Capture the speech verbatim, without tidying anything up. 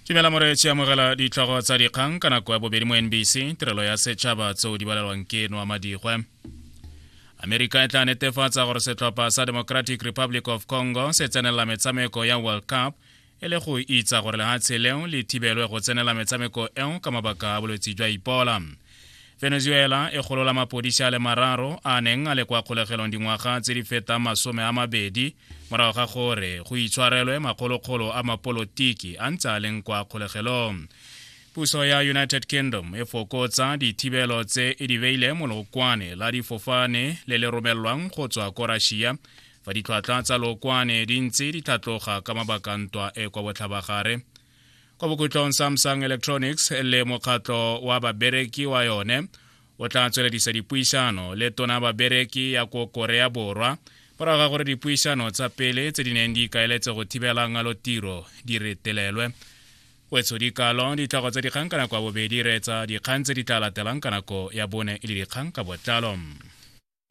Dumela moreetsi, amogela ditlhogo tsa dikgang ka nako ya bobedi mo N B C, tirelo ya setšhaba, tseo di balelwang ke Noa Madigwe. Amerika e tla netefatsa gore setlhopha sa Democratic Republic of Congo se tsenelela metshameko ya World Cup, e le go itsa gore lehatshe leo le thibelwe go tsenela metshameko eo ka mabaka a bolwetse jwa Ebola. Venezuela e golola mapodisi a le mararo a neng a le kwa kgolegelong dingwaga tse di fetang masome a mabedi, morago ga gore go itshwarelwe makgolokgolo a mapolotiki a ntse a leng kwa kgolegelong. Puso ya United Kingdom e fokotsa dithibelo tse e di beile mo lokwane la difofane le le romelwang go tswa ko Russia, fa ditlhwatlhwa tsa lokwane di ntse di tlhatloga ka mabaka ntwa e kwa botlhabagare. Kwa bokhutlong, Samsung Electronics le mokgatlho wa babereki wa yone o tla tsweledisa dipuisano le tona babereki ya ko Korea Borwa, morago ga gore dipuisano tsa pele tse di neng di ikaeletse go thibela ngalotiro di retelelwe. Wetso dikalo ditlhogo tsa dikgang ka nako ya bobedi. Reetsa dikgang tse di tla latelang ka nako ya bone e le dikgang ka botlalo.